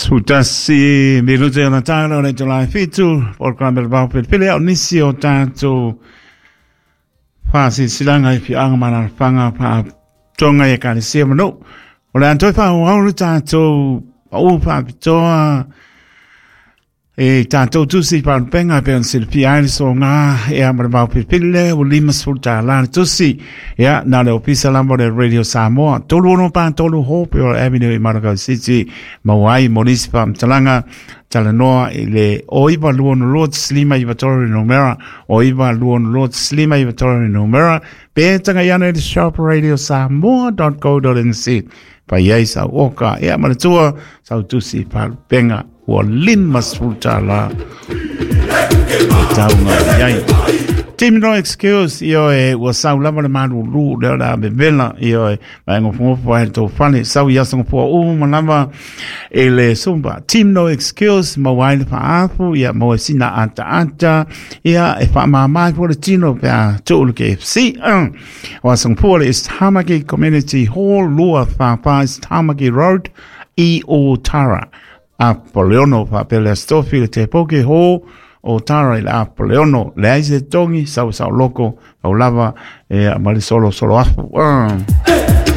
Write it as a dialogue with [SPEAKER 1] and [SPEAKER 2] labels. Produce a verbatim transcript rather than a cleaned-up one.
[SPEAKER 1] Sutasi minute o Natala o le tolai fitu programa le vau pele o nisi o tātou whaasisilanga i fianga manalafanga pa tonga i ekalesia manu. O le antoi whaauau le tātou pau whaapitoa e tātou tusi palupenga pe on silipia ai le soga ea ma le vaopilipili lea ua limasefulu tālā le tusi ia na le ofisa lava o le Radio Samoa tolu ono pa tolu Hope o Avenue i Manukau City maua ai mo nisi faamatalaga talanoa i le o iva lua ono lua taslima iva tolu le numera o iva lua ono lua taslima iva tolu le numera pe tagaiana i le shop radio samoa dot co dot nz pai ai sau oka ea ma le tua sau tusi palupenga ua limasefulu tālā le tauga i ai. Team No Excuse, io e ua sau lava le malūlū lea o le a vevela, io e mai ngofongofo ai le tou fale, sau i aso gofua uma lava e le Zumba. Team No Excuse, maua ai le faaafu, ia maua sina ataata, ia e faamāmā ai foi le tino pe a tuu le K F C. O aso gofua le East Tamaki Community Hall, lua whāwhā East Tamaki Road, i Otara. Apoleono faapea le Astofi le Tepoke Hall o Tara i le Apoleono le ai se tongi sau sau loko au lava e ma le solo solo afu. Uh.